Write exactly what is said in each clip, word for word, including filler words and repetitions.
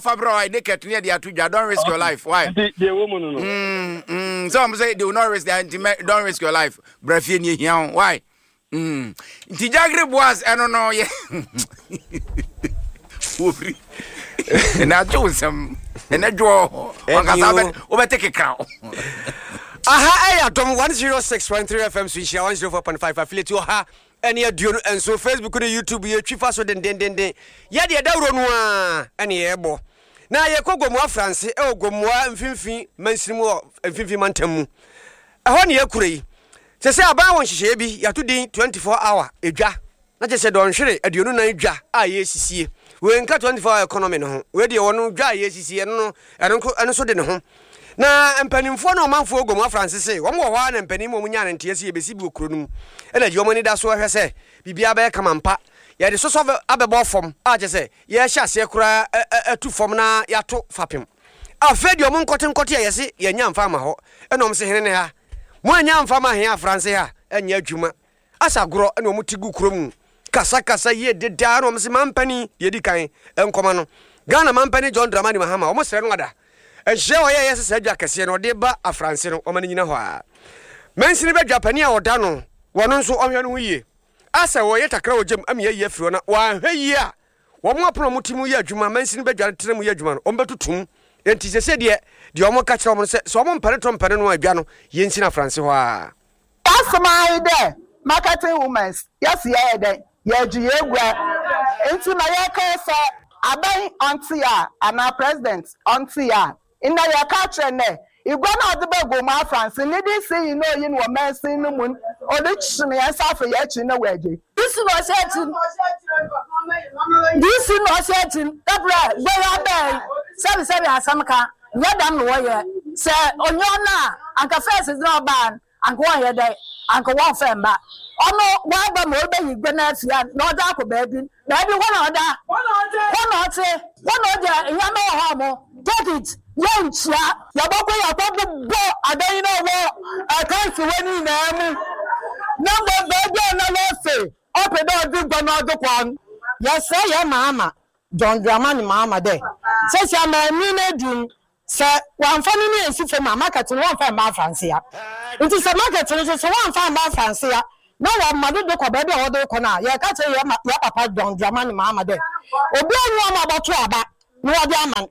Fa brɛ why naked ne yɛde ato dwa. Don't risk your life. Why? Nti deɛ ɛwɔ mu no no. Mm, mm, sɛ ɔmo sɛ they will not risk their, nti mɛ don't risk your life. Bra fie ne ehia wo. Why? Mm. Nti Jagre Boas ɛno no yɛ wofiri ɛna agye wo nsɛm ɛnɛ dwoɔ wankasa Ɛdi o. wobɛte kekra wo. Aha ɛyɛ Adom one oh six point three F M so, Nhyira one oh four point five affiliate ɔha ɛne aduonu nso, Facebook ne YouTube yɛtwi fa so dendendenden. Yɛdeɛ dawuro no a ɛne yɛbɔ na yɛkɔ Gomoa Franse ɛwɔ Gomoa Mfimfini mansini mu wɔ Mfimfini mantam mu ɛhɔ ne yɛkura yi sɛ sɛ aban wɔ nhyehyɛeɛ bi yɛato din twenty-four hour edwa, na kyerɛ sɛ dɔnhwere aduonu nan dwa a yɛsisie. Wei nka twenty-four hour economy no ho. Wei deɛ wɔno dwa a yɛsisie ɛno no ɛno nko ɛno nso de ne ho na mpanimfoɔ ne ɔmanfoɔ Gomoa Franse se wɔn wɔ hɔ a na mpanin mu wɔn nya ne nteɛ sɛ yɛbɛsi bi wɔ kuro no mu, ɛna gye wɔn ani da so ɛhwɛ sɛ biribiara bɛyɛ kama mpa. Yɛde sosɔ abɛbɔ fam a kyerɛ sɛ yɛhyɛ aseɛ koraa atu fam na yɛato fapem. Afei deɛ ɔmo nkɔte nkɔte a yɛse yɛnya mfa ama hɔ, ɛna ɔmo se hene ne ha mo anya mfa ma hene Afranse ha ɛnyɛ adwuma asa agorɔ, ɛna ɔmo ti gu kuro mu kasakasa yie dedaa, na ɔmo se mampani deɛ di kan nkɔma no Ghana mampani John Dramani Mahama. Ɔmo srɛ no ada nhyia a ɔyɛ yɛ sɛ saa dwa kɛseɛ no ɔde ba Afranse no, ɔma no nyina hɔ a mansini bɛdwa pani a ɔda no wɔno nso ɔhwɛ no ho yie asɛ wɔyɛ takra wɔ gyam ama yɛayi afiri hɔ na wɔanhwɛ yie a wɔn apono a wɔte mu yɛ adwuma, mansini bɛdwa tena mu yɛ adwuma no, wɔn bɛtutum. Nti sɛ sɛ deɛ deɛ wɔn ka kyerɛ wɔn no sɛ sɛ wɔn mpɛne to mpɛne no a adwa no yɛnsi no Afranse hɔ a. Asɛm ayi dɛ marketing women yɛsi yɛyɛ dɛ yɛgye yɛgua, nti na yɛka sɛ aban ɔnte a anaa president ɔnte a nna yɛka kyerɛ nɛ igua na ɔde bɛ Gomoa Afranse ne de si yi na oyi no wɔ mansin no mu, ɔde kyene yɛn nsa afɔ yɛn akyi na wɔagye. D C na ɔhyɛ akyi, D C na ɔhyɛ akyi dabrɛ gbɛyɛ abɛn sɛbi sɛbi asɛm ka nyɛ dɛm na wɔyɛ sɛ onye ɔno a anka first na ɔbaa anka wɔnyɛ dɛ anka wɔnfɛ mba ɔno waba ma ɔbɛyi gbe na afia na ɔda akɔ baabi baabi hɔ na ɔda hɔ na ɔte hɔ na ɔgya nneɛma wɔ hɔ a mo take it yɛ nkyia. Yɛbɛkɔ yɛkɔ bobɔ adan yi na wɔ ɛkansi wɔ ne nyinaa mu na mbɔ baabi a na wɔse ɔpɛ dɛ ɔde gua na ɔde kɔ no. Yɛsrɛ yɛ Maama John Dramani Mahama dɛ sɛsi amaani no adum sɛ wamfa no ne ɛnsi fam a market no wɔmfa mma Afranse a, nti sɛ market no nso so wɔmfa mma Afranse a na wɔma dodo kɔ baabi a wɔde kɔ no a, yɛka kyerɛ yɛ ma- yɛ papa John Dramani Mahama dɛ obi anyi ɔma ɔbɛto aba na wɔde ama no.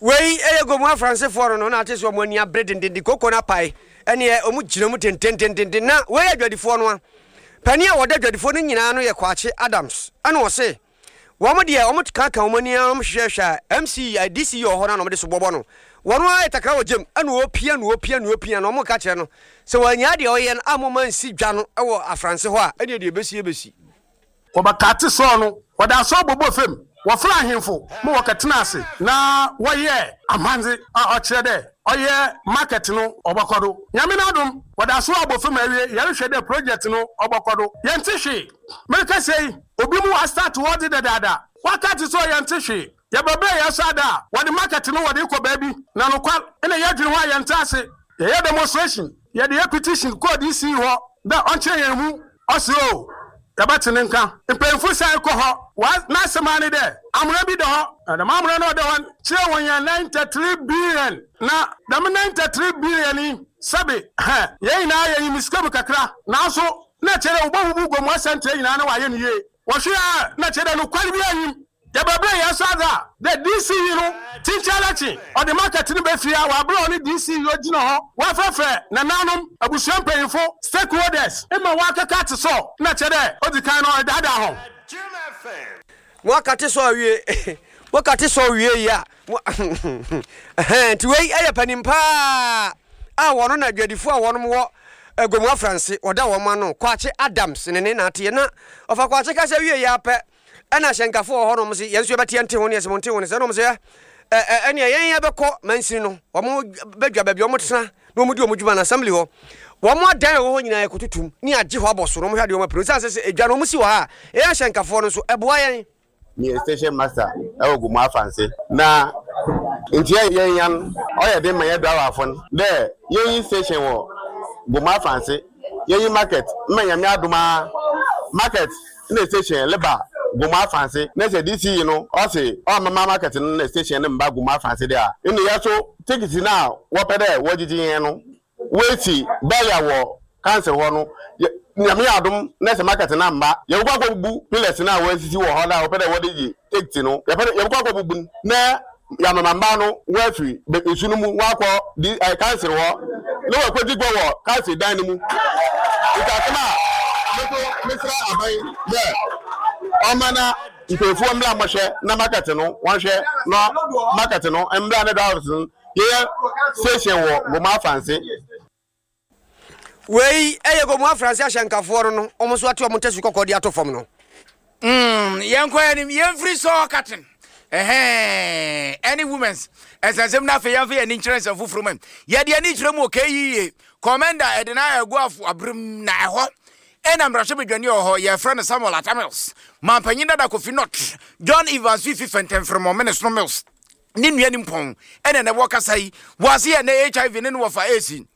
Wei ɛyɛ Gomoa Fransefoɔ no no na ate sɛ ɔmo ani abere dendenden koko no apae ɛneɛ ɔmo gyina mu tentententen. Na wei yɛ adwadifoɔ no a panin a wɔda adwadifoɔ no nyinaa no yɛ Kwakye Adams, ɛna ɔse wɔn deɛ wɔn kaka wɔn ani a wɔn hwehwɛhwɛ a M C a D C wɔ hɔ no na wɔde so bɔbɔ no wɔn ayɛ takra wɔ gyam, ɛna wɔpia na wɔpia na wɔpia na wɔn ka kyerɛ no sɛ wɔanya deɛ ɔyɛ no a moma nsi dwa no ɛwɔ Afranse hɔ a ɛneɛ deɛ ɛbɛsi ɛbɛsi. Wɔbɛkate sɔɔ no wɔde asɔɔ bɔbɔ fam, wɔfrɛ ahemfo ma wɔkɛtena ase na wɔyɛ amandze a ɔkyerɛ dɛ ɔyɛ market no ɔbɛkɔ do. Nyame no adom wɔde aso abɔ fam awie, yɛrehwɛ dɛ project no ɔbɛkɔ do. Yɛnte hwee. Mereka sɛ yi obi mu astart wɔdze dadaada wakate sɛ yɛnte hwee. Yɛbɛbrɛ yɛn so ada a wɔde market no wɔde kɔ baabi na nokwar ɛna yɛdwene ho a yɛnte ase. Yɛyɛ demonstration, yɛde yɛ petition kɔɔ D C hɔ dɛ ɔnkyerɛ yɛn mu ɔse o yɛbɛte ne nka. Mpanyinfo san kɔ hɔ wa n'asɛm ani dɛ amuna bi da hɔ na dɛm amuna no ɔda hɔ kyerɛ wɔn yɛn ninety three billion, na dɛm ninety three billion yi sɛbi hɛn yɛn nyinaa yɛ nyim sika mu kakra, nanso na kyerɛ dɛ wɔbɛbubu Gomoa Central nyinaa na wɔayɛ no yie. Wɔhwɛ a na kyerɛ dɛ nokware bi anyim. Yɛbɛbrɛ yɛn so adze a dɛ D C yi no tinkyɛn akyi ɔde market no bɛfie a wɔabrɛ ɔne D C yi ogyina hɔ wɔafrɛfrɛ nananom, abusua mpanyinfo, stakeholders ma wɔakeka ate so na kyerɛ dɛ odzi kan no ɔdaadaa ho. Mo akate sɔ awie, mo kate sɔ wie yi a mo ɛhɛn. Nti wei ɛyɛ panin paa a wɔno na adwadifoɔ a wɔnom wɔ Gomoa Franse wɔda wɔn ano, Kwakye Adams ne ne naateɛ na ɔfa Kwakye kasa wie yi apɛ ɛna ahyɛnkafo wɔ hɔnom se yɛn nso yɛbɛte yɛnte ho ne yɛsɛ mo nte ho ne sɛ ɛnom sɛ ɛ ɛ ɛnea yɛn yɛbɛkɔ mansini no wɔn bɛdwa baabi wɔn tena na wɔn di wɔn dwuma na assembly hɔ wɔn adan a ɛwɔ hɔ nyinaa yɛkɔtutum ne agye hɔ abɔ so na wɔn hwɛ adeɛ wɔn apere sɛ sɛ edwa no wɔn si wɔ ha a yɛn ahyɛnkafoɔ no nso ɛboa yɛn. Meyɛ station master ɛwɔ Gomoa Afranse na nti yɛn yan ɔyɛ den ma yɛ driverfo no dɛ yɛnyi station wɔ Gomoa Afranse, yɛnyi market mma. Nyame adom a market na station leba. Gomu Afanse na sɛ D C E no ɔse ɔmama market no na station no mba Gomu Afanse de a, ɛne yɛ so ticket no a wɔpɛ dɛ wɔgyegye yɛn no wɔasi bɛyɛ wɔ council hɔ no. Nyame yɛ adom na sɛ market no amba, yɛbɛkɔ akɔbubu pillars no a wɔasisi wɔ hɔ no a wɔpɛ dɛ wɔde gye ticket no. Yɛpɛ dɛ yɛbɛkɔ akɔbubu no na yɛamama mba no wɔafiri nsu no mu wɔakɔ di ɛ council hɔ na wɔakɔdi gua wɔ council dan no mu. Nti asɛm a meso mesrɛ aban dɛ ɔma na mpanyinfoɔ mmra mmɔhwɛ na market no wɔnhwɛ na market no mmra ne drivers no yɛyɛ station wɔ Gomu Afanse. Wei ɛyɛ Gomu Afranse ahyɛnkafoɔ no no ɔmo nso ate ɔmo ntɛsi kɔkɔɔ de ato fam no. Mm, yɛnkɔ anim, yɛmfiri sɔɔ katen ɛhɛn ɛne women's ɛnsɛnsɛm no. Afei yɛmfa yɛni nkyerɛ nsɛm foforɔ mu. Yɛde ani kyerɛ mu wɔ K E A commander ɛde na ɛgu afo aberem na ɛhɔ ɛna mmarahyɛbadwani wɔ hɔ, yɛfrɛ no Samuel Atta Mills. Mampanyin dada Kofi Not John Evans Fifi Fɛntɛmfrɛmɔ Mene Mills ne nua nimpɔn ɛna na ɛwɔ kasa yi wɔase yɛ nɛ H I V ne ne wɔfa esi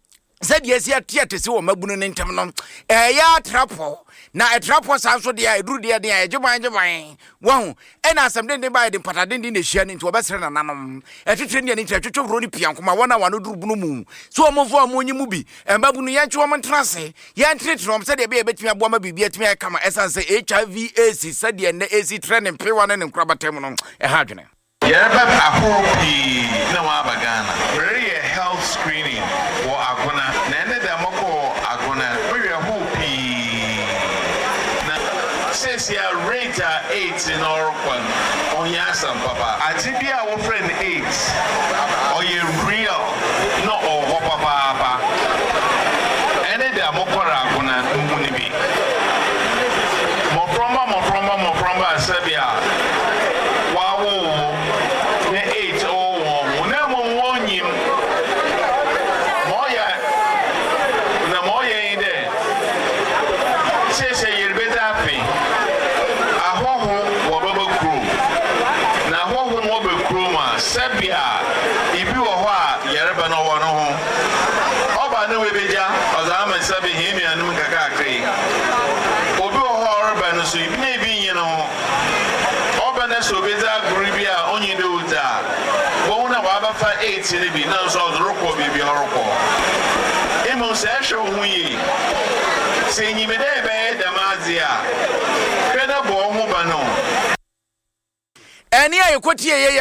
sɛdeɛ esi ate ate si wɔ mabunu ne ntɛm no, ɛyɛ atrapɔ na ɛtrapɔ saa nso deɛ a ɛduru deɛ deɛ a ɛgye ban gye ban wɔho. Ɛna asɛm denden ba yɛde mpata denden na ɛhyia no, nti wɔbɛsrɛ nananom ɛtwetwe ne ani nkyerɛ twetwe woro ne pia nkoma wɔn a wɔano duru bunu mu so wɔn mfo a wɔn nyi mu bi mmabunu yɛntwe wɔn ntena ase, yɛntenetene wɔn sɛdeɛ ɛbɛyɛ bɛtumi aboa ma biribi atumi ayɛ kama, ɛsiane sɛ H I V AIDS sɛdeɛ nnɛ ɛsi trɛ ne mpewa ne ne nkorabata mu no, ɛha adwene. Yɛreba ahorow pii na wɔaba Ghana mereyɛ health screening wɔ Agona, na ɛne da mɔkɔɔ Agona mehwɛ hoo pii na seesia rate a AIDS na ɔrekɔ no, ɔnyɛ asɛm papa. Ade bi a wɔfrɛ no AIDS ɔyɛ real na ɔwɔ hɔ papaapa. Ɛne da mɔkɔrɔ Agona muhu no bi, mmɔframma mmɔframma mmɔframma a sɛbi a wɔawowo na AIDS ɔwɔ wɔn ho, na mmom wɔnyim ma ɔyɛ na ma ɔyɛ yi dɛ seesei yɛrebɛdzi afe ahɔho wɔbɛba kurom, na ahɔho no wɔba kurom a, sɛbi a ibi wɔ hɔ a yɛreba no ɔwɔ no ho ɔba ne wɔbɛgya ɔdze ama sɛbi hɛn nuanom nkakrakra yi. Obi wɔ hɔ a ɔreba no so ibi na ebi nye no ho ɔba no sɛ obɛdzi agorɔ bi a ɔnye dɛ odzi a wɔn na wɔabɛfa AIDS no bi na nso ɔdze rekɔ baabi a ɔrekɔ. Mmom sɛ ɛhwɛ wo ho yie, sɛ enyim dɛ ɛbɛyɛ dɛm adze a, hwɛ na bɔ wo ho ban o. Ɛne a yɛkɔtie yɛyɛ.